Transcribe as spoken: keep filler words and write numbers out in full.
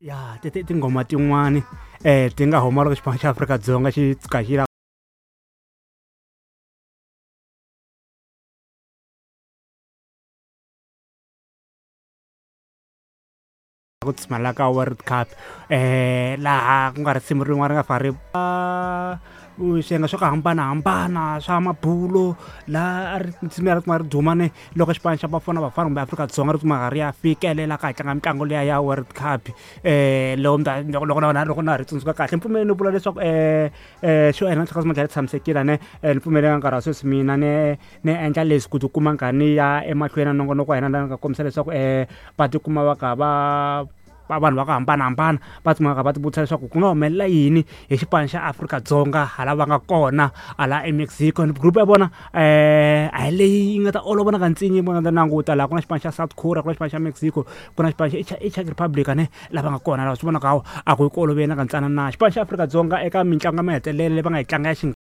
Ya ti ti tinghoma tin'wani um ti nga huma loko xipano xa Afrika-Dzonga xi tshuka xi la ku tsumela ka World Cup um laha ku nga risimu rin'wana ri nga fane ri swiyenge swa ku hambanahambana swa mabulo laha a ri nsimu ya ri kuma ri duma ni loko xipano xa Bafana Bafana kumbe Afrika-Dzonga ri kuma ri ya fikelela ka hi tlanga mitlangu liya ya World Cup um loko loko loko na loko na ha ri tsundzuka kahle mpfumeleli ni vula leswaku um um xo endla nhloko ma dlaya tshamisekile ne ni pfumelela nkarhi wa sweswi mina ni ni endla leswi ku tikuma nkha ni ya emahlweni na nongonoko wa hina laha ni nga kombisa leswaku um va tikuma va kha va va vanhu va ku hambanahambana va tshama va kha va ti vutisa leswaku ku nga humelela yini hi xipano xa Afrika-Dzonga hala va nga kona hala eMexico group ya vona um a hi leyi yi nga ta olova na kantsongo va nga ta languta laha ku na xipano xa South Korea ku na xipano xa Mexico ku na xipano xa i Czech Republic ane lava nga kona laha swi vonaka hawa a ku yi ku oloveni na kantsanana xipano xa Afrika-Dzonga eka mitlangu ya mahetelelo leyi va nga yi tlanga ya xi.